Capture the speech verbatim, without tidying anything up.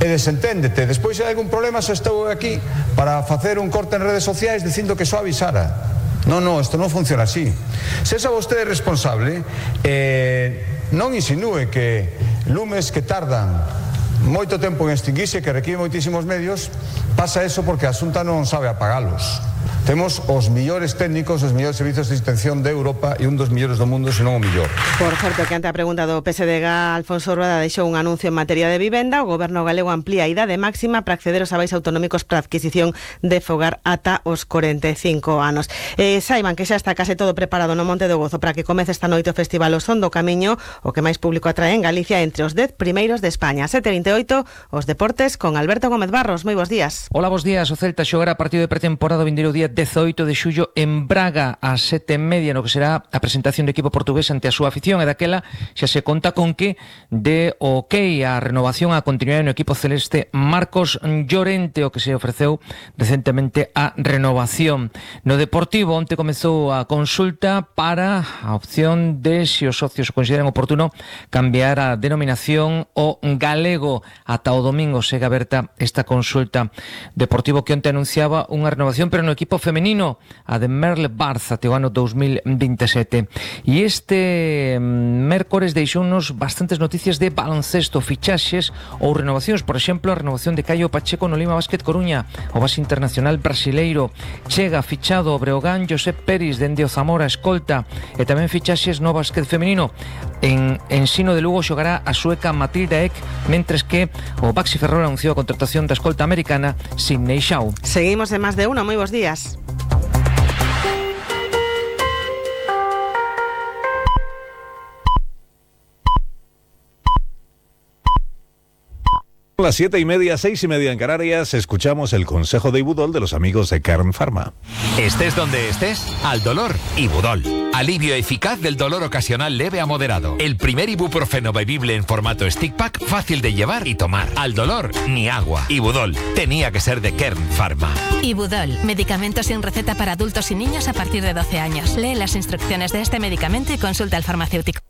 e desenténdete. Despois, se hai algún problema, xa estou aquí para facer un corte en redes sociais dicindo que só avisara. Non, non, isto non funciona así. Se esa vostede é responsable, eh, non insinúe que lumes que tardan moito tempo en extinguirse, que requiren moitísimos medios, pasa eso porque a Xunta non sabe apagalos. Temos os millores técnicos, os millores servizos de extinción de Europa e un dos millores do mundo, senón o millor. Por certo, que ante a pregunta do P S D G, Alfonso Rueda deixou un anuncio en materia de vivenda. O Goberno galego amplía a idade máxima para acceder aos avais autonómicos para adquisición de fogar ata os corenta e cinco anos. Eh, saiban que xa está case todo preparado no Monte do Gozo para que comece esta noite o Festival O Son do Camiño, o que máis público atrae en Galicia entre os dez primeiros de España. sete e vinte e oito, os deportes con Alberto Gómez Barros. Moi bos días. Hola, bos días. O Celta xogará partido de pretemporada o vindeiro día dezoito de xullo en Braga ás sete e media, no que será a presentación do equipo portugués ante a súa afición, e daquela xa se conta con que de ok a renovación a continuidade no equipo celeste Marcos Llorente, o que se ofreceu recentemente a renovación. No Deportivo, onte comezou a consulta para a opción de, se os socios o consideran oportuno, cambiar a denominación o galego. Ata o domingo segue aberta esta consulta. Deportivo que onte anunciaba unha renovación, pero no equipo femenino, a de Merle Barça, até o ano dos mil veintisiete. E este mércores deixounos bastantes noticias de baloncesto, fichaxes ou renovacións. Por exemplo, a renovación de Caio Pacheco no Lima Basket Coruña, o base internacional brasileiro. Chega fichado o Breogán Josep Peris dende o Zamora escolta, e tamén fichaxes no basquet femenino. En Ensino de Lugo xogará a sueca Matilda Ek, mentres que o Baxi Ferrol anunciou a contratación da escolta americana Sidney Shaw. Seguimos en Más de Uno. Moi bos días. Las siete y media, seis y media en Canarias, escuchamos el consejo de Ibudol de los amigos de Kern Pharma. Estés donde estés, al dolor, Ibudol. Alivio eficaz del dolor ocasional leve a moderado. El primer ibuprofeno bebible en formato stick pack, fácil de llevar y tomar. Al dolor, ni agua. Ibudol, tenía que ser de Kern Pharma. Ibudol, medicamento sin receta para adultos y niños a partir de doce años. Lee las instrucciones de este medicamento y consulta al farmacéutico.